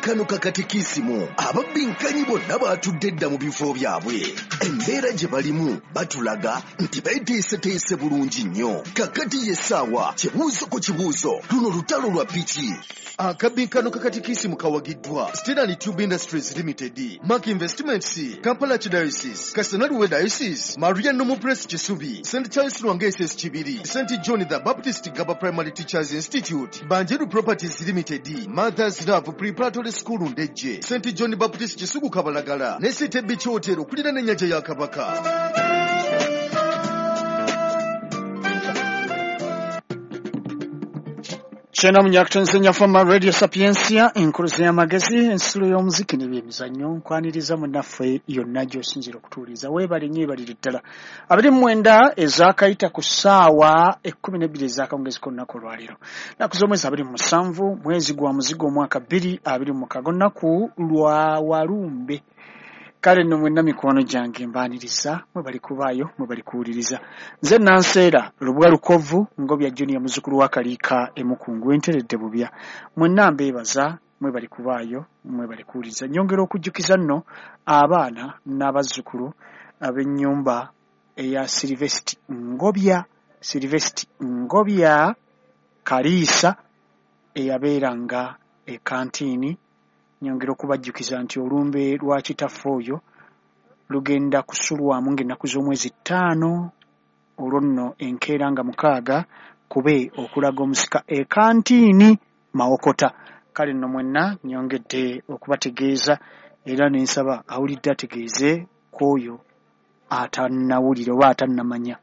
Kano kakatikisimu ababbinkanyi bonna baatudde dda mu bifo byabwe. Embeera gye balimu batulaga nti beeteeseteese bulungi nnyo. Kakati y'essaawa kibuuzo ku kibuuzo, luno lutalo lwa piki. Akabbinkano kakatikisimu kawagiddwa Steel Tube Industries Limited, Mark Investments, Kampala Archdiocese, Kassena-Luweero Diocese, Maria Normal Press Kisubi, St Charles Lwanga SS Kibiri, St John the Baptist Gaba Primary Teachers Institute, Banjeru Properties Limited, Mother's Love Preparatory School Ndejje, St John Baptist Kisugu Kabalagala ne City Beach Hotel okuliraana ennyanja ya Kabaka. Kyena munyakutonzenya fama Radio Sapientia, enkuluze y'amagezi, ensulo y'omuziki n'ebyemizannyo. Nkwaniriza munnaffe yonna gy'osinziira okutuwuliriza. Weebale nnyo, weebalire ddala. 29 ezaakayita ku ssaawa 12 ez'akawungeezi k'olunaku olwaleero. Nnaku z'omwezi 27, mwezi gwa muzigo omwaka 2026, olunaku lwa Walumbe. Kale nno mwenna mikwano gyange mbaaniriza, mwebali kubaayo, mwebali kuwuliriza. Nze Nanseera Lubwa Lukovu, Ngobya Junior, muzzukulu wa Kaliika Emukungu, enteredde bubya. Mwenna mbeebaza, mwebali kubaayo, mwebali kuwuliriza. Nnyongera okujjukiza nno abaana n'abazzukulu ab'ennyumba eya Silvesti Ngobya, Silvesti Ngobya Kaliisa eyabeeranga e Kantiini. Nyongera okubajjukiza nti olumbe lwa kitaffe oyo lugenda kusulwamu ng'ennaku z'omwezi 5, olwo nno enkeera nga 6 kube okulaga omusika e Kantiini Mawokota. Kale nno mwenna nnyongedde okubategeeza era ne nsaba awulidde ategeeze ku oyo atannawulira oba atannamanya.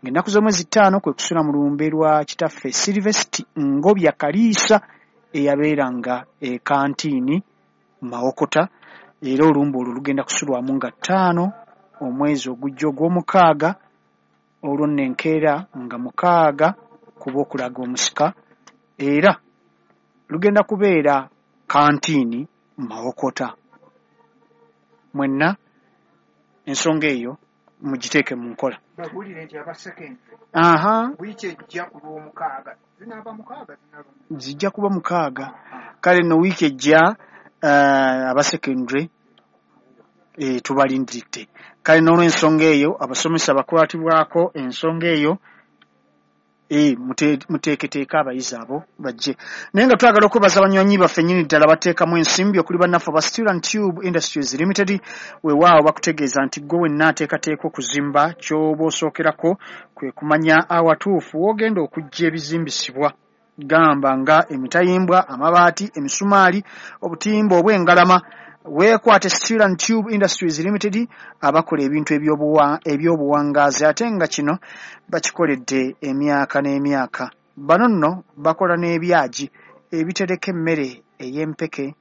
Ng'ennaku z'omwezi 5 kwe kusula mu lumbe lwa kitaffe Silvesti Ngobya Kaliisa eyabeeranga e Kantiini Mawokota, era olumbe olwo lugenda kusulwamu nga 5 omwezi ogujja ogw'omukaaga, olwo nno enkeera nga 6 kuba okulaga omusika, era lugenda kubeera Kantiini Mawokota. Mwenna ensonga eyo mugiteeke mu nkola. Babuulire nti aba secondary wiiki ejja ku lw'omukaaga zinaaba 6, zinaaba zijja kuba 6. Kale nno wiiki ejja aba secondary tubalindiridde. Kale n'olw'ensonga eyo abasomesa bakwatibwako ensonga eyo, muteeketeeke abayizi abo bajje. Naye nga twagala okwebaza abanywanyi baffe nnyini ddala bateekamu ensimbi okuli bannaffe aba Steel and Tube Industries Limited. Weewaawo bakutegeeza nti ggwe wenna ateekateeka okuzimba, ky'oba osookerako kwe kumanya awatuufu w'ogenda okuggya ebizimbisibwa, gamba nga emitayimbwa, amabaati, emisumaali, obutimba obw'engalama. Weekwate Steel and Tube Industries Limited abakola ebintu ebyobuwangaazi, ate nga kino bakikoledde emyaka n'emyaka. Bano nno bakola n'ebyagi ebitereka emmere ey'empeke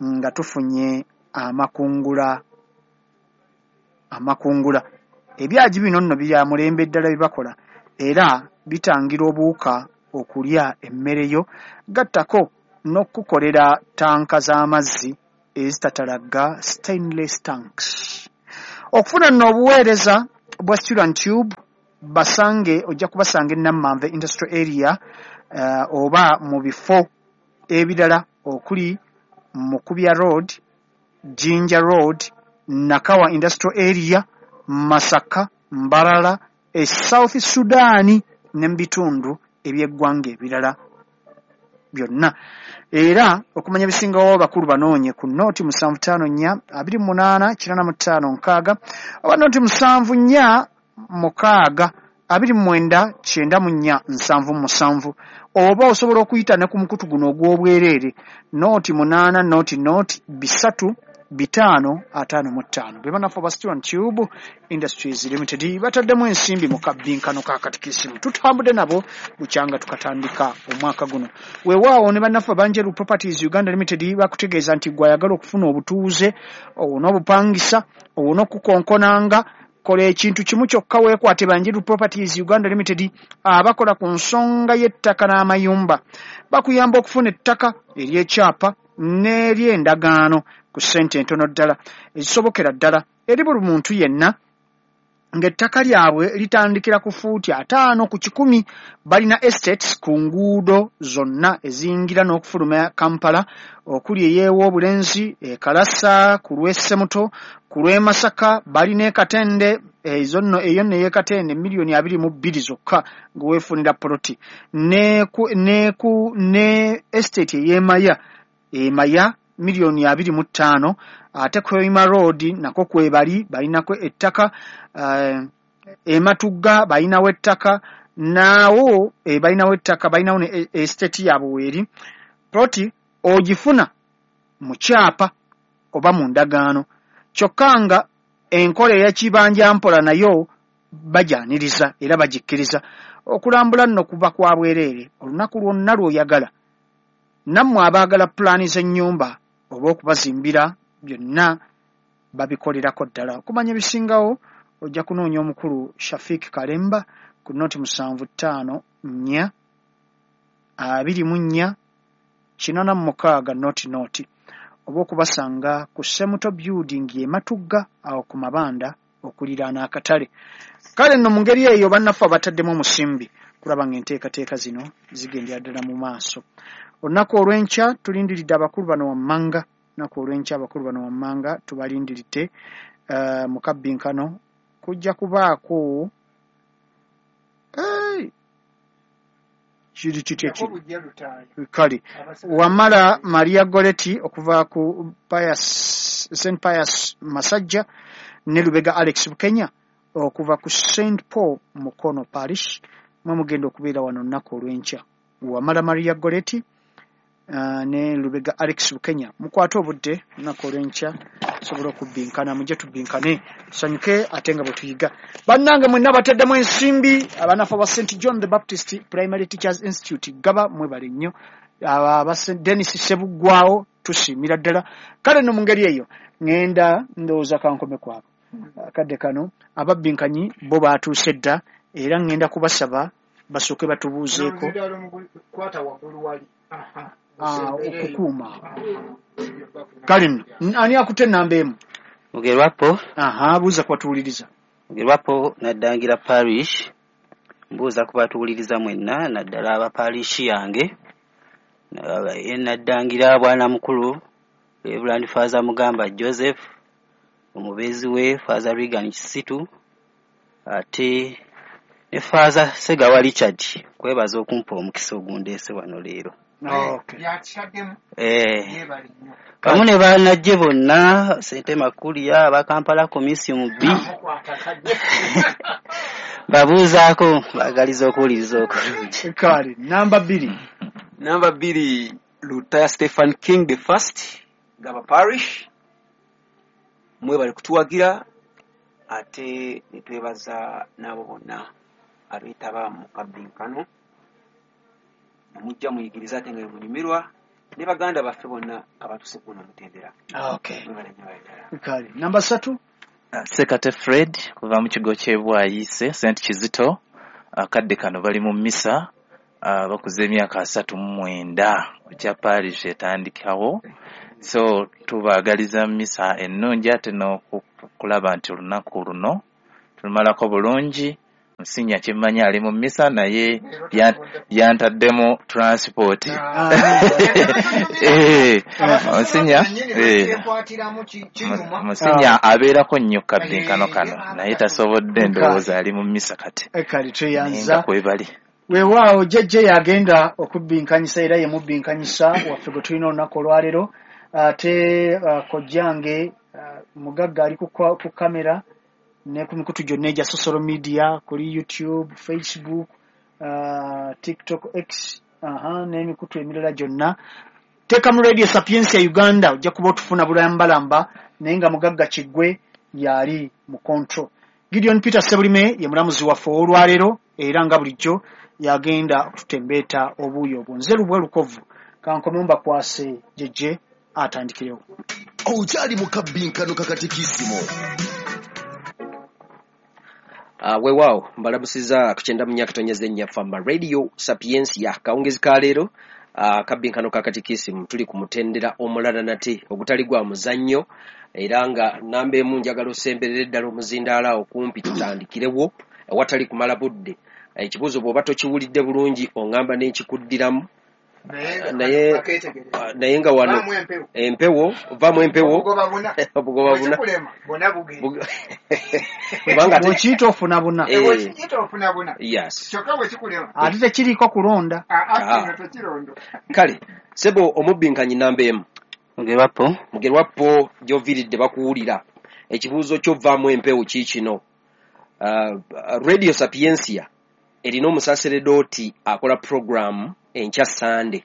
nga tufunye amakungula. Ebyagi bino nno bya mulembe ddala bye bakola, era bitangira obuwuka okulya emmere yo, gattako n'okukolera ttanka z'amazzi ezitatalagga, stainless tanks. Okufuna nno obuweereza bwa Steel and Tube basange, ojja kubasanga e Nammanve Industrial Area, oba mu bifo ebirala okuli Mukubya Road, Jinja Road, Nakawa Industrial Area, Masaka, Mbarara, e South Sudan ne mu bitundu eby'eggwanga ebirala byonna. Era okumanya ebisingawo abakulu banoonye ku noti 754 28 85 6 oba noti 746 29 94 77, oba osobola okuyita ne ku mukutu guno ogw'obwereere noti 8 noti noti 3 5 55. Be bannaffe aba Steel and Tube Industries Limited bataddemu ensimbi mu kabbinkano ka katikisimu. Tutambudde nabo bukyanga tukatandika omwaka guno. Weewaawo ne bannaffe Banjeru Properties Uganda Limited bakutegeeza nti gwe ayagala okufuna obutuuze owone obupangisa owone okukonkonanga, kola ekintu kimu kyokka, weekwate Banjeru Properties Uganda Limited abakola ku nsonga y'ettaka n'amayumba. Bakuyamba okufuna ettaka ery'ekyapa n'ery'endagaano ku ssente entono ddala ezisobokera ddala eri buli muntu yenna Ng'ettaka lyabwe litandikira ku fuuti 50 ku 100. Balina estates ku nguudo zonna eziyingira n'okufuluma Kampala, okuli ey'Ewobulenzi, e Kalasa, ku lw'e Ssemuto, ku lw'e Masaka, balina e Katende, ezo nno eyo nno ey'e Katende 22 miliyoni zokka nga weefunira poloti, ne estate ey'e Maya, e Maya 25 miliyoni. Ate Hoima Road nako kwebali, balinako ettaka. E Matugga balinawo ettaka naawo, balinawo ettaka, balinawo ne estate yaabwe weeri. Ploti ogifuna mu kyapa oba mu ndagaano, kyokka nga enkola ey'ekibanja mpola nayo bajaniriza era bagikkiriza. Okulambula nno kuba kwa bwereere olunaku lwonna lw'oyagala. Nammwe abaagala pulaani z'ennyumba oba okubazimbira, byonna babikolerako ddala. Okumanya ebisingawo ojja kunoonya omukulu Shafik Kalemba ku 0754 24 86 00, oba okubasanga ku Semuto Building e Matugga awo ku Mabanda okuliraana akatale. Kale nno mu ngeri eyo bannaffe abataddemu omusimbi kulaba ng'enteekateeka zino zigendera ddala mu maaso. Olunaku olw'enkya tulindiridde abakulu bano wammanga. Olunaku olw'enkya abakulu bano wammanga tubalindiridde mu kabbinkano. Kujja kubaako kiri kitya kiri? Kale Wamala Maria Goretti okuva ku Pius, St Pius Masajja, ne Lubega Alex Bukenya okuva ku St Paul Mukono Parish, mwe mugenda okubeera wano olunaku olw'enkya. Wamala Maria Goretti ne Lubega Alex Bukenya, mukwate obudde olunaku olw'enkya tusobole okubbinkana. Mujje tubbinkane, tusanyuke ate nga bwe tuyiga. Bannange mwenna bataddemu ensimbi, abanafu aba St John the Baptist Primary Teachers Institute Gaba, mwebale nnyo. Aba St Denis Sebuggwawo, tusiimira ddala. Kale nno mu ngeri eyo ŋŋenda ndowooza kankome kwabo akadde kano. Ababbinkanyi bo baatuuse dda, era ŋŋenda kubasaba basooke batubuuzeeko. Kwata waggulu wali. Okukuuma. Kale nno ani akutte ennamba 1? Mugerwapo. Aha, buuza kubatuwuliriza. Mugerwapo, Naddangira Parish. Mbuuza ku batuwuliriza mwenna, naddala aba parish yange Naddangira, bwana mukulu Reverend Father Mugamba Joseph, omubeezi we Father Regan Kisitu, ate ne Father Segawa Richard, kwebaza okumpa omukisa ogundeese wano leero. Yakitaddemu. Yeebale nnyo. Wamu ne bannajje bonna, Sente Makuliya, aba Kampala Comisium B. Mukwata Babuuzaako, baagaliza okuwuliriza okulungi. Kale namba 2. Namba 2, Lutaya Stephen King the First, Gaba Parish. Mwebale kutuwagira, ate ne twebaza n'abo bonna abeetaba mu kabbinkano. Mujja muyigiriza ate nga munyumirwa ne baganda baffe bonna abatuuse kuno mutendera. Mwebale nnyo ddala. Kale namba 3. Sekate Fred kuva mu kigo ky'e Bwayiise, St Kizito. Akadde kano bali mu misa, bakuza emyaka 39 ekya parish etandikawo, so tubaagaliza misa ennungi ate n'okulaba nti olunaku luno tulumalako bulungi. Musinya kyemmanyi ali mu misa, naye yantaddemu transport. Musinya, Kyekwatiramu kinyuma. Musinya abeerako nnyo kabbinkano kano, naye tasobodde, ndowooza ali mu misa kati. Kale Naye tweyanza. Nga kwebali. Weewaawo jjajja yagenda okubbinkanyisa, era ye mubbinkanyisa waffe gwe tulina olunaku olwaleero. Ate kojjange mugagga ali ku kamera ne ku mikutu gyonna egya social media, kuli YouTube, Facebook, TikTok, X, aha, n'emikutu emirala gyonna. Teekamu Radio Sapiensia Uganda, ojja kuba otufuna bulambalamba. Naye nga mugagga Kiggwe yali mu control. Gideon Peter Sebulime ye mulamuzi waffe ow'olwaleero, era nga bulijjo yagenda okututembeeta obuuyi obwo. Nze Lubwa Lukovu, kankome mbakwase jjejje atandikirewo. Okyali mu kabbinkano kakatikisimu. Weewaawo mbalamusiza ku 94.4 Fama Radio Sapiensia. Kawungezi ka leero. Akabbinkano ka katikisimu tuli ku mutendera omulala nate ogutali gwa muzannyo, era nga namba emu njagala osemberere ddala omuzindaalo awo kumpi tutandikirewo awatali kumala budde. Ekibuuzo bw'oba tokiwulidde bulungi oŋŋamba n'ekikuddiramu, naye nga wano empewo vaamu empewo obugoba buna kubanga bw'okiyita ofuna buna. Yes. Ate tekiriiko kulonda. Kale sebo omubbinkanyi namba emu Mugerwapo. Mugerwapo gy'oviiridde bakuwulira. Ekibuuzo kyo vaamu empewo kiikino. Radio Sapientia erina omusaseredooti akola program enkya Sande.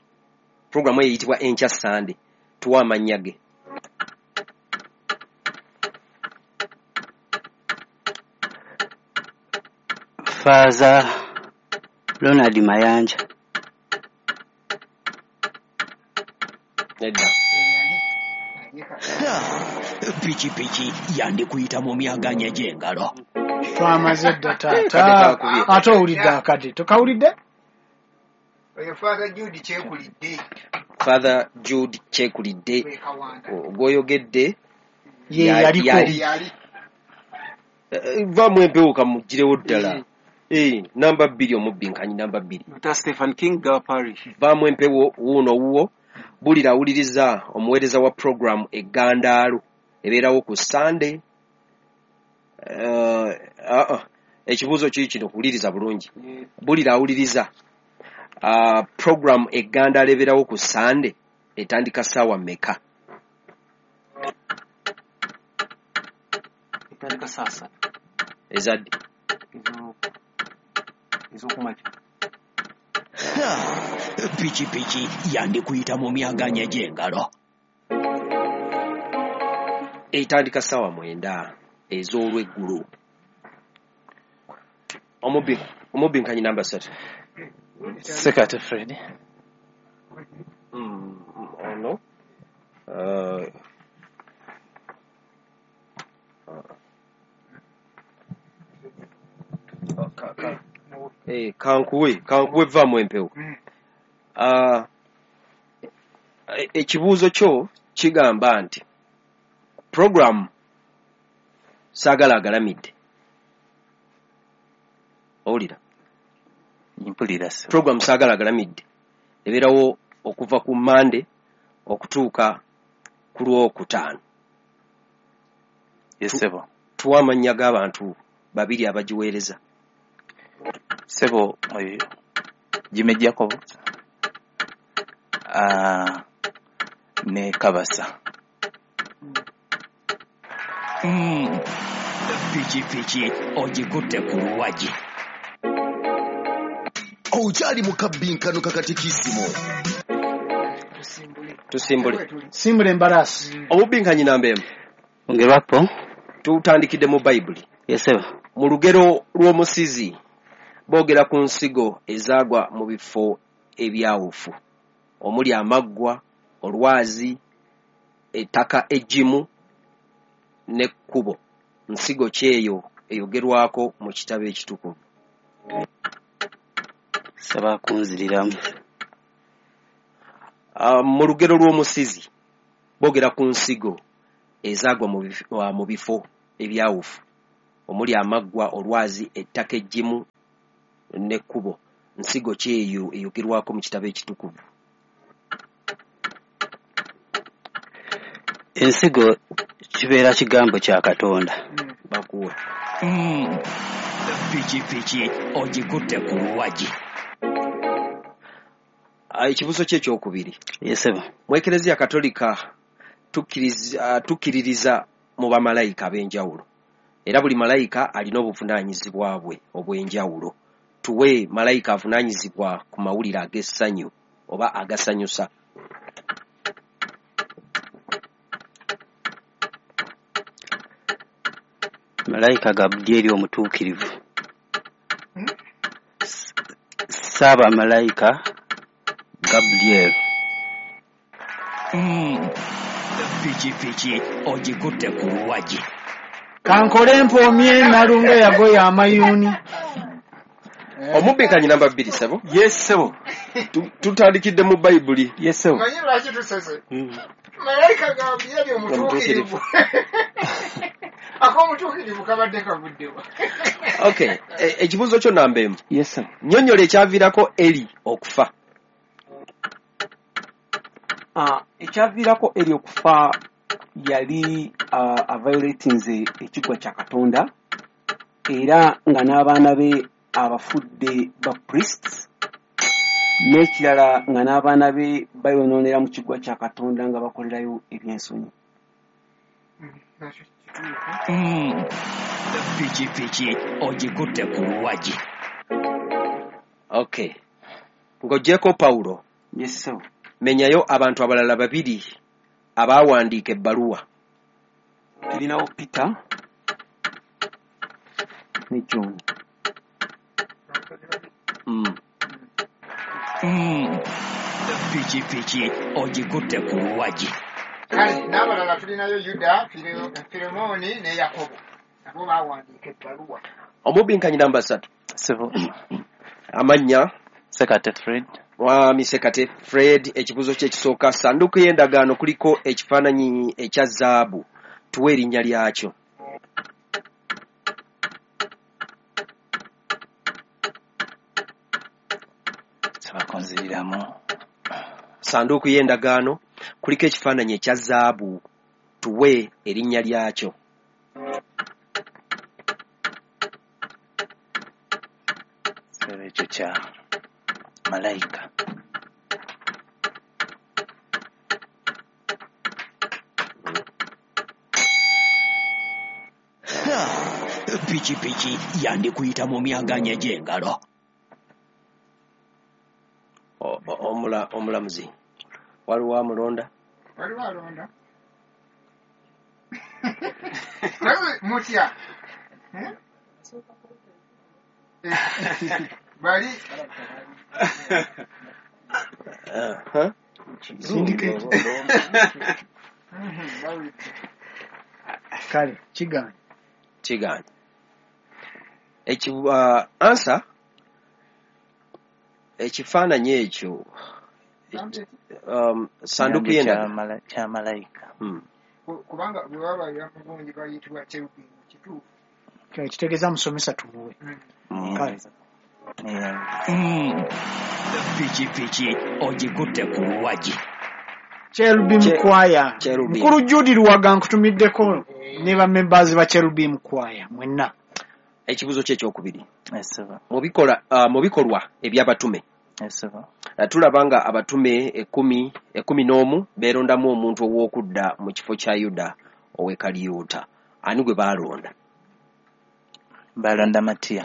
Program eyo eyitibwa Enkya Sande. Tuwa amannya ge. Father Ronald Mayanja. Nedda. Pikipiki yandikuyita mu myaganya gy'engalo. Twamaze dda taata. Ate owulidde akadde. Tokawulidde? Oyo Father Jude Kyekulidde. Father Jude Kyekulidde. Ogwoyogedde ye yaliko. Vaamu empewo kamugirewo ddala. Namba 2 omubbinkanyi namba 2. Dr. Stephen King Gaba Parish. Vaamu empewo wuuno wuwo. Bulira awuliriza omuweereza wa program Eggandaalo ebeerawo ku Sunday. Ekibuuzo kiri kino, wuliriza bulungi. Bulira awuliriza program Eggandaalo ebeerawo ku Sunday etandika ssaawa mmeka? Etandika saa 3. Ezadde ez'okumakya. Pikipiki yandikuyita mu myaganya gy'engalo. Etandika ssaawa 9 ez'olweggulo. Omubbinkanyi namba 3. Sekate Fred. Ono. Kankuwe vaamu empewo. Ekibuuzo kyo kigamba nti program Saagala Agalamidde. Owulira? Mpulira ssebo. Program Saagala Agalamidde ebeerawo okuva ku Mande okutuuka ku Lwokutaano. Yes ssebo. Tuwa amannya g'abantu babiri abagiweereza. Ssebo Jimmy Jacob ne Kabasa. Pikipiki ogikutte ku luwagi. Okyali mu kabbinkano ka katikisimu. Tusimbule. Simbula embalaasi. Omubbinkanyi namba emu. Mugerwapo. Tutandikidde mu Bayibuli. Yes ssebo. Mu lugero lw'omusizi boogera ku nsigo ezaagwa mu bifo ebyawufu omuli amaggwa, olwazi, ettaka eggimu n'ekkubo. Nsigo ki eyo eyogerwako mu kitabo ekitukuvu? Saba kunziriramu. Mu lugero lw'omusizi boogera ku nsigo ezaagwa mu bifo ebyawufu omuli amaggwa, olwazi, ettaka eggimu n'ekkubo. Nsigo ki eyo eyogerwako mu kitabo ekitukuvu? Ensigo kibeera kigambo kya Katonda. Bakuwe. Pikipiki ogikutte ku luwagi. Ekibuuzo kye ekyokubiri. Yes ssebo. Mu Ekereziya Katolika tukkiririza mu bamalayika ab'enjawulo, era buli malayika alina obuvunaanyizibwa bwe obw'enjawulo. Tuwe malayika avunaanyizibwa ku mawulire ag'essanyu oba agasanyusa. Malayika Gabulyeri omutuukirivu. Ssaabamalayika Gabulyeri. Pikipiki ogikutte ku luwagi. Kankole mpoomye Nalunga yagoya amayuuni. Omubbikanyi namba 2 ssebo. Yes ssebo. Tutandikidde mu Bayibuli. Yes sir. Manyi lwaki tusese? Malayika gambye yali omutuukirivu. Ak'omutuukirivu kabadde kavuddewa. Okay, ekibuuzo kyo namba emu. Yes sir. Nnyonnyola ekyaviirako Eli okufa. Ekyaviirako Eli okufa yali aviolatinze ekigwa kya Katonda era nga n'abaana be abafudde ba priests, n'ekirala nga n'abaana be bayonoonera mu kigwa kya Katonda nga bakolerayo ebyensonyi. Pikipiki ogikutte ku luwagi. Okay, ng'oggyeko Pawulo. Yes sir. Menyayo abantu abalala babiri abaawandiika ebbaluwa. Tulinawo Peter ne John. Pikipiki ogikutte ku luwagi. Kale n'abalala tulinayo Yuda, Filemooni ne Yakobo. Nabo baawandiika ebbaluwa. Omubinkanyi namba 3. Sebo. Amannya Sekate Fred. Mwami Sekate Fred, ekibuuzo kye ekisooka, sanduuku y'endagaano kuliko ekifaananyi ekya zaabu, tuwe erinnya lyakyo. Sebakonziriramu. Sanduuku y'endagaano kuliko ekifaananyi ekya zaabu, tuwe erinnya lyakyo. Sebo ekyo kya malayika. Pikipiki yandikuyita mu myaganya gy'engalo. Omulamuzi waliwo amulonda? Waliwo alonda. Mutya bali kale kigaanye. Kigaanye. Ansa ekifaananyi ekyo sanduuku y'endagaano kya malayika. Kubanga bwe baba mugungi bayitibwa cherubim, kituufu. Kitegeeza musomesa tumuwe. Kale. Pikipiki ogikutte ku luwagi. Cherubim Choir. Mukulu Judy Luwaga nkutumiddeko ne ba members ba Cherubim Choir mwenna. Ekibuuzo kye ekyokubiri. Mu bikolwa eby'abatume. Tulaba nga abatume 11 beerondamu omuntu ow'okudda mu kifo kya Yuda ow'e Kaliyuta. Ani gwe baalonda? Baalonda Matiya.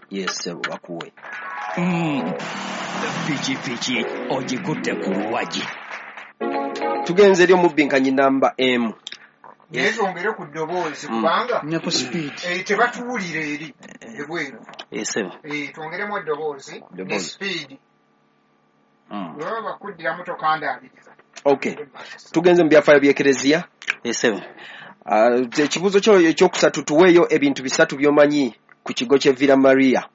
Yes, bakuwe. Pikipiki ogikutte ku luwagi. Tugenze eri omubinkanyi namba M. Naye twongere ku ddoboozi kubanga ne ku speed tebatuwulira eri ebweru. Twongeremu eddoboozi ne speed. Bwe bakuddiramu tokandaabiriza. Okay. Tugenze mu byafaayo by'Ekereziya. Ekibuuzo kyo ekyokusatu, tuweeyo ebintu bisatu by'omanyi ku kigo ky'e Villa Maria.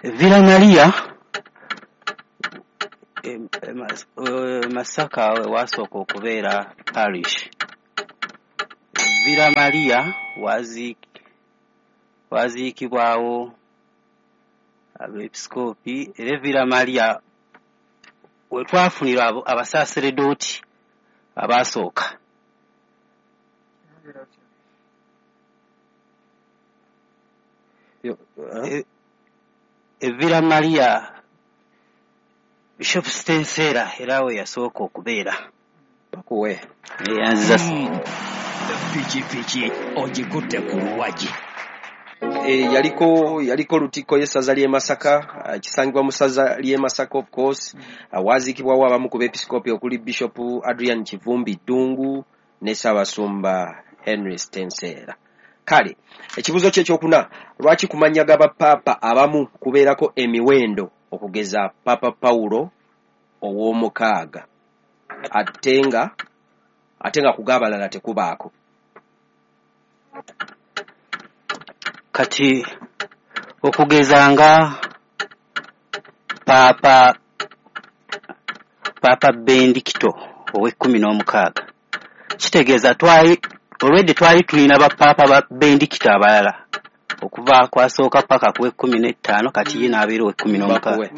Villa Maria Masaka wasooka okubeera parish. Villa Maria waziikibwawo abeepisikoopi, era Villa Maria we twafunira abasaaseredooti abaasooka. Villa Maria Bishop Stensera era we yasooka okubeera. Bakuwe. Yanziza. Pikipiki ogikutte ku luwagi. Yaliko Lutikko y'essaza ly'e Masaka, kisangibwa mu ssaza ly'e Masaka of course. Waziikibwawo abamu ku beepisikoopi okuli Bishop Adrian Kivumbi Ddungu ne Ssaabasumba Henry Stensera. Kale ekibuuzo kye ekyokuna, lwaki ku mannya g'abapaapa abamu kubeerako emiwendo okugeza Papa Pawulo ow'omukaaga ate nga ku g'abalala tekubaako? Kati okugeza nga Paapa Bendikito ow'e16, kitegeeza twali olwedde twali tulina bapaapa ba Bendikito abalala okuva kwasooka paka ku 15, kati ye n'abeera ow'16.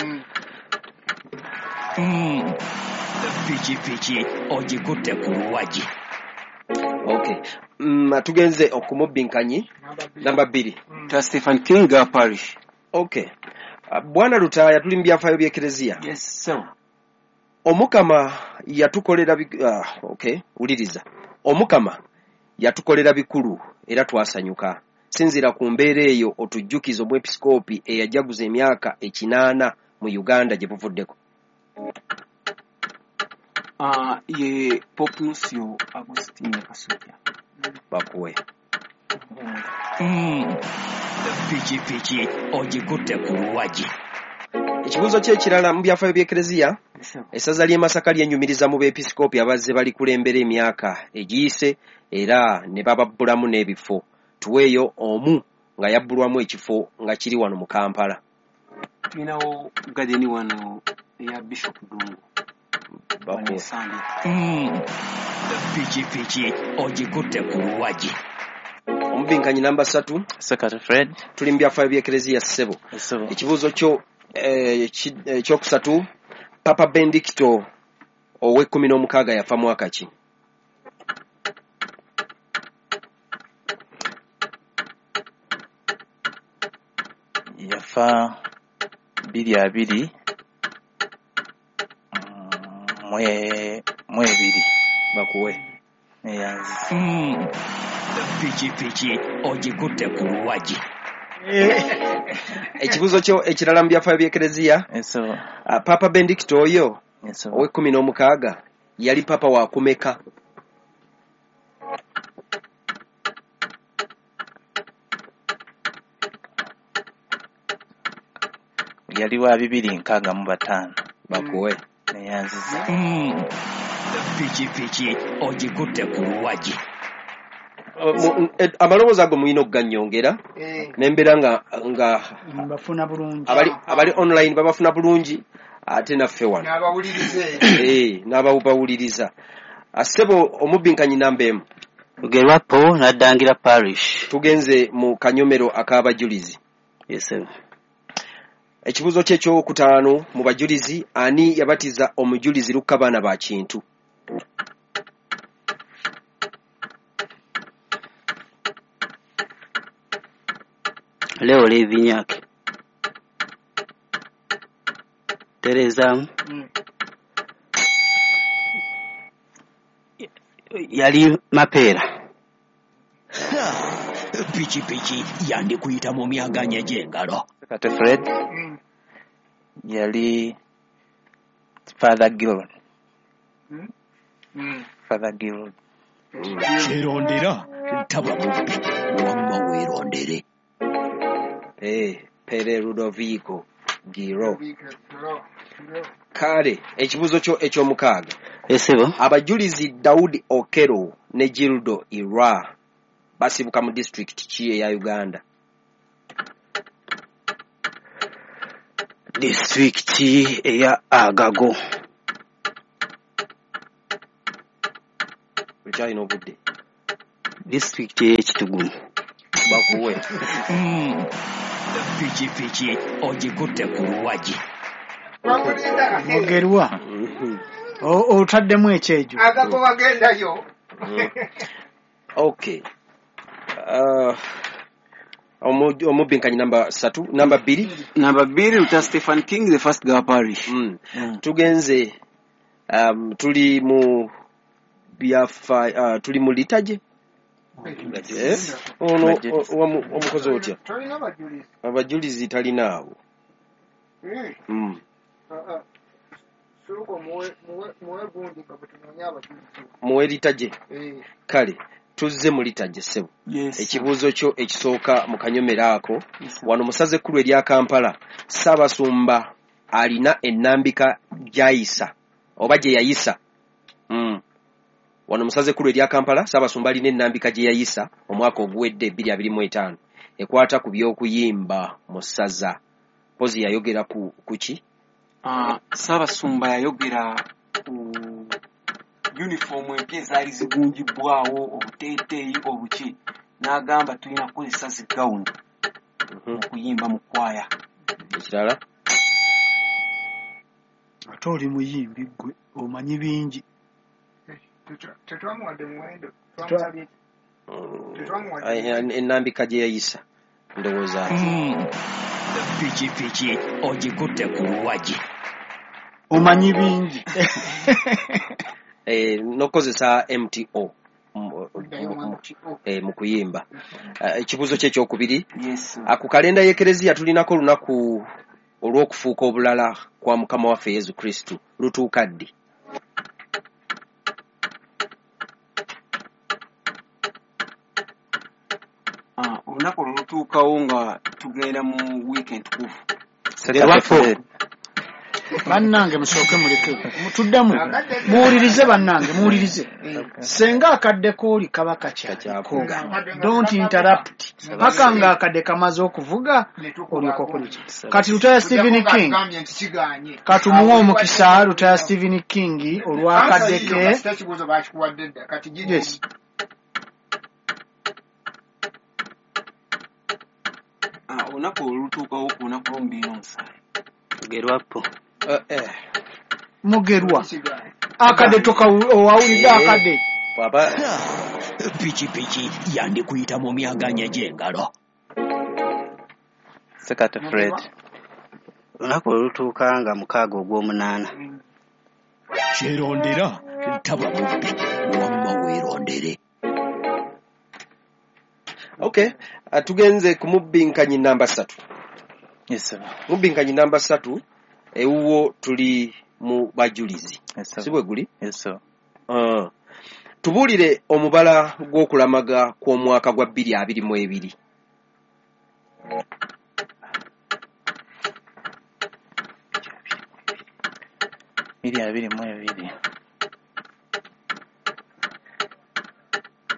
Pikipiki ogikutte ku luwagi. Okay. Tugenze okumubinkanyi namba 2. Ta Stephen King ga parish. Okay. Bwana Lutaaya, tuli mu byafaayo by'Ekereziya. Yes sir. Omukama yatukolera okay, wuliriza. Omukama yatukolera bikulu era twasanyuka. Sinziira ku mbeera eyo otujjukize omwepisikoopi eyajaguza emyaka 80 mu Uganda gye buvuddeko. Ye Pope Nuncio Agustino Kasujja. Bakuwe. Pikipiki ogikutte ku luwagi. Ekibuuzo ky'ekirala mu byafaayo by'Ekereziya, essaza ly'e Masaka lyenyumiriza mu beepisikoopi abazze balikulembera emyaka egiyise era ne bababbulamu n'ebifo. Tuweeyo omu nga yabbulwamu ekifo nga kiri wano mu Kampala. Tulinawo gadeni wano eya Bishop Dungu. Bakuwe. Pikipiki ogikutte ku luwagi. Omubinkanyi namba 3. Sekate Fred. Tuli mu byafaayo by'Ekereziya ssebo. Ekibuuzo kyo ekyokusatu, Papa Benedicto ow'16 yafa mwaka ki? Yafa 2022 mu ebiri. Bakuwe. Neyanzi. Pikipiki ogikutte ku luwagi. Ekibuuzo kyo ekirala mu byafaayo by'Ekereziya, Papa Benedicto oyo ow'16 yali papa wa kumeka? Yali wa 265. Bakuwe. Neyanziza. Pikipiki ogikutte ku luwagi. Amaloboozi ago mulina okugannyongera n'embeera nga bafuna bulungi. Abali online babafuna bulungi, ate naffe wano n'abawuliriza. Ssebo omubinkanyi namba 1. Lugerwapo n'addangira parish. Tugenze mu kanyomero ak'abajulizi. Yes sir. Ekibuuzo kye ekyokutaano mu bajulizi, ani yabatiza omujulizi Lukka ba Kintu? Leo Levinyake. Tereza. Yali Mapeera. Pikipiki yandikuyita mu myaganya gy'engalo. Kate Fred. Yali Father Gilron. Father Gilron. Kyerondera taba mubbi, wamma weerondere. Pere Ludovico Giro. Kale ekibuuzo kyo ekyomukaaga. Esebo. Abajulizi Daudi Okero ne Gildo Ira basibuka mu disitulikiti ki eya Uganda? Disitulikiti eya Agago. Okyalina obudde. Disitulikiti ey'Ekitugumu. Bakuwe. Pikipiki ogikutte ku luwagi. Mugerwa. Otaddemu ekyejo. Agago wagendayo. Okay. Omubinkanyi namba 3, namba 2. Namba 2 Luther Stephen King the first Gawa parish. Tugenze tuli mu byafa, tuli mu litaje. Ono omukozi otya? Abajulizi talina abo. Muwe litaje. Kale tuzze mu litaje ssebo. Ekibuuzo kyo ekisooka mu kanyomero ako, wano mu ssaza ekkulu erya Kampala, Ssaabasumba alina ennambika gy'ayisa oba gye yayisa. Wano mu ssaza ekkulu erya Kampala, Ssaabasumba alina ennambika gye yayisa omwaka oguwedde 2025. ekwata ku by'okuyimba mu ssaza. Mpozi yayogera ku ki? Ssaabasumba yayogera ku yunifoomu empya ezaali zigunjibwawo, obuteeteeyi obuki, n'agamba tulina kukozesa zi gawuni okuyimba mu kwaya. Ekirala? Ate oli muyimbi ggwe omanyi bingi. Tetwamuwadde muwendo. Ennambika gye yayisa ndowooza. Pikipiki ogikutte ku luwagi. Omanyi bingi. N'okukozesa MTO mu kuyimba. Ekibuuzo kye ekyokubiri. Ku kalenda y'Ekereziya tulinako olunaku olw'okufuuka obulala kwa Mukama waffe Yesu Kristo. Lutuuka ddi? Olunaku olwo lutuukawo nga tugenda mu wiiki entukuvu. Bannange musooke muleke tuddemu muwulirize, bannange muwulirize. Senga akadde kooli kaba kakyaliko, don't interrupt paka nga akadde kamaze okuvuga olyoka okola. Kati Lutaya Stephen King katumuwe omukisa. Lutaya Stephen King olwakadde ke. Yes. Olunaku olwo lutuukawo ku lunaku lw'omubiri n'omusaayi. Mugerwapo. Mugerwa. Akadde owawulidde akadde. Pikipiki yandikuyita mu myaganya gy'engalo. Sekate Fred. Olunaku olwo lutuuka nga 6 ogw'omunaana. Kyerondera taba mubbi wamma weerondere. Okay, tugenze ku mubinkanyi namba 3. Yes sir. Mubinkanyi namba 3 ewuwo tuli mu bajulizi. Yes sir. Si bwe guli? Yes sir. Tubuulire omubala gw'okulamaga kw'omwaka gwa 2022. 2022.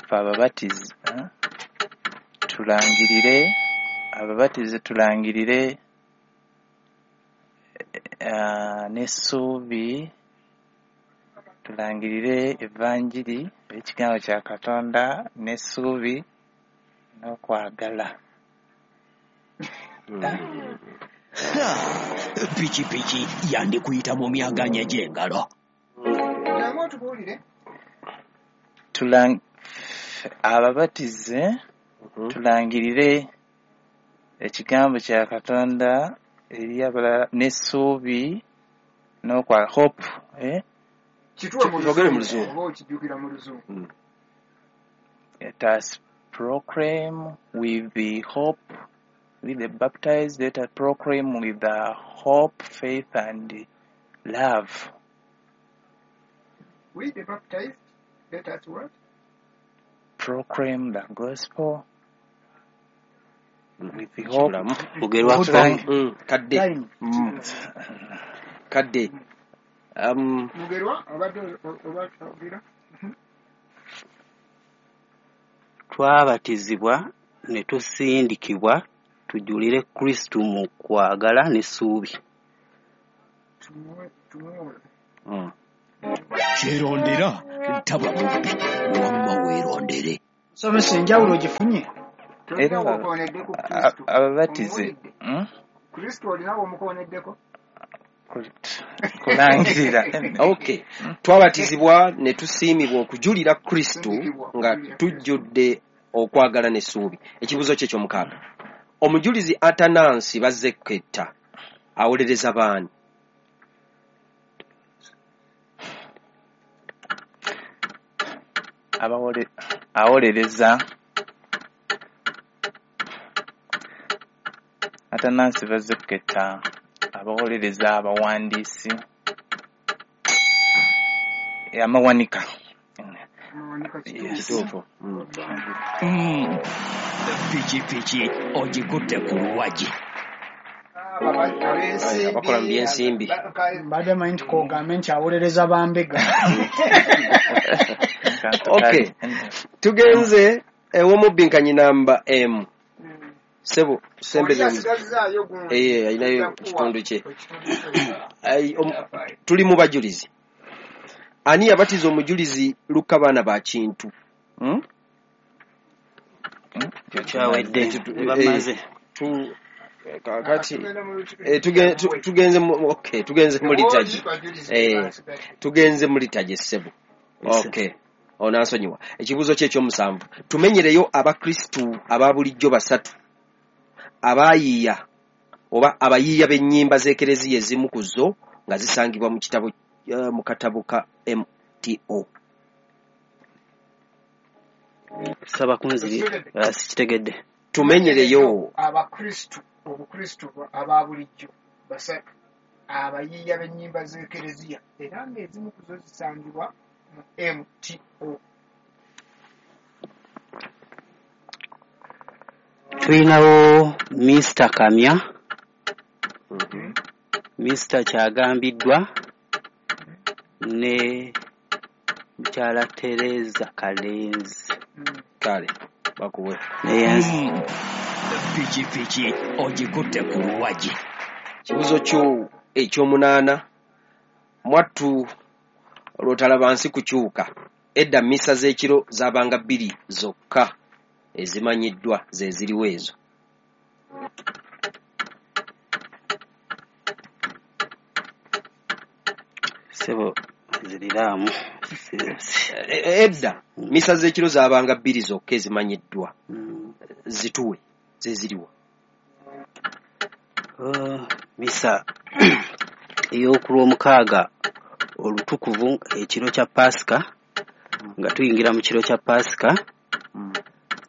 Ffe ababatizi tulangirire, ababatizi tulangirire n'essuubi, tulangirire evanjiri ekigambo kya Katonda n'essuubi n'okwagala. Pikipiki yandikuyita mu myaganya gy'engalo. Ababatize tulangirire ekigambo kya Katonda eri abalala n'essuubi n'okwagala. Hope. Kyogere mu Luzungu. Let us proclaim with the hope, with the baptized, let us proclaim with the hope, faith, and love. We the baptized, let us what? Proclaim the gospel with the hope. Kadde. Kadde. Mugerwa obadde ogira. Twabatizibwa ne tusindikibwa tujulire Kristo mu kwagala n'essuubi. Kyerondera taba mubbi wamma weerondere. Nsomesa enjawulo ogifunye? Era ababatize Kristo olina w'omukoneddeko? Kulangirira. Okay. Twabatizibwa ne tusiimibwa okujulira Kristo nga tujjudde okwagala n'essuubi. Ekibuuzo kye ky'omukaaga. Omujulizi Atanansi Bazzeketta awolereza baani? Awolereza Atanansi Bazzeketta abawolereza abawandiisi amawanika. Kituufu. Pikipiki ogikutte ku luwagi. Abakola mu by'ensimbi. Mbadde manyi nti k'ogambe nti awolereza bambega. Okay. Tugenze ew'omubinkanyi namba M. Sebo Oli sembeza asigazaayo gundi. Eh, alinayo Tujja kuwa kitundu kye. ekitundu kye. Ai, tuli mu bajulizi. Ani yabatiza omujulizi Luka baana ba Kintu? Hmm? Kyawedde. Ekyo Bamaze. Kakati Tugenda mu tugenze mu, okay, tugenze mu liturgy. Bajulizi basigadde. Tugenze mu liturgy ssebo. Okay. Onansonyiwa. Ekibuuzo kye ekyomusanvu. Tumenyereyo abakristu aba bulijjo basatu abaayiiya oba abayiiya b'ennyimba z'ekereziya ezimu ku zo nga zisangibwa mu kitabo mu katabo ka MTO. Saba kunziri sikitegedde. Tumenyereyo abakristu obukristu aba bulijjo basatu abayiiya b'ennyimba z'ekereziya era ng'ezimu ku zo zisangibwa mu MTO. Tulinawo Mr. Kamya, Mr. Kyagambiddwa ne mukyala Tereza Kalenzi. Kale bakuwe. Neyenzi. Pikipiki ogikutte ku luwagi. Kibuuzo kyo ekyomunaana, mwattu lw'otalaba nsi kukyuka. Edda mmisa z'ekiro zaabanga bbiri zokka ezimanyiddwa ze ziriwo ezo. Ssebo nziriraamu. Edda mmisa z'ekiro zaabanga bbiri zokka ezimanyiddwa zituwe ze ziriwa. Misa ey'okulwomukaaga olutukuvu ekiro kya Paasika, nga tuyingira mu kiro kya Paasika,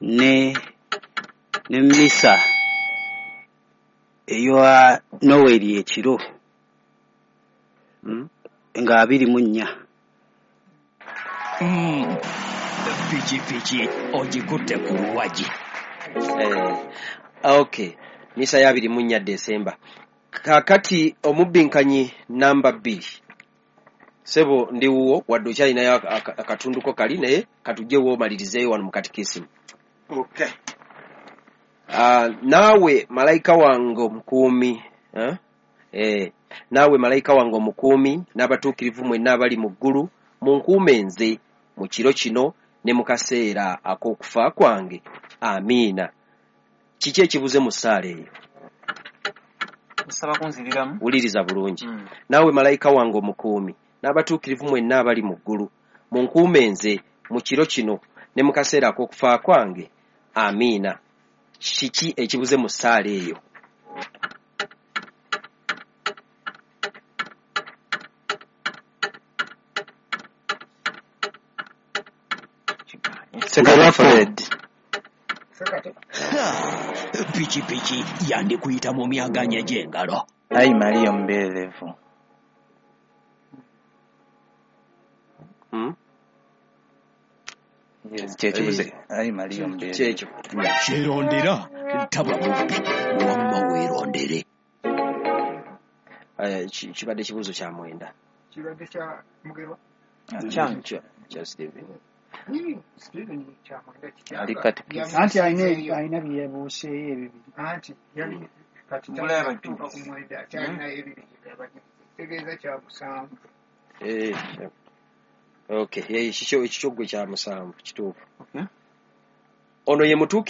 ne misa eya Noweeri ekiro nga 24. Pikipiki ogikutte ku luwagi. Okay, misa ya 24 Desemba. Kakati omubbinkanyi namba 2. Sebo ndi wuwo wadde okyalinayo akatunduko kali naye katujjewo omalirizeeyo wano mu katikisimu. Okay. Naawe malayika wange omukuumi, naawe malayika wange omukuumi n'abatuukirivu mwenna abali mu ggulu munkuume nze mu kiro kino ne mu kaseera ak'okufa kwange. Amiina. Kiki ekibuze mu ssaala eyo? Nsaba kunziriramu. Wuliriza bulungi. Naawe malayika wange omukuumi n'abatuukirivu mwenna abali mu ggulu munkuume nze mu kiro kino ne mu kaseera ak'okufa kwange. Amiina. Kiki ekibuze mu ssaala eyo? Sekate Fred. Sekate. Pikipiki yandikuyita mu myaganya gy'engalo. Ayi Maria omubeerevu. Yes, kyekibuze. Ayi Maria omubeerevu. Kyekyo. Kyerondera taba mubbi wamma weerondere. Kibadde kibuuzo kya mwenda. Kibadde kya Mugerwa. Kyange. Kya Steven. Steven kya mwenda kikyanga. Ali katikisi. Anti alina bye yabuuseeyo ebibiri. Anti yali kati Mbula kyatuuka y'abajulizi. ku mwenda akyalinayo ebibiri by'abajulizi. Kitegeeza kya musanvu. Okay, ekikyo gwe kya musanvu kituufu. Okay. Ono ye mutuukirivu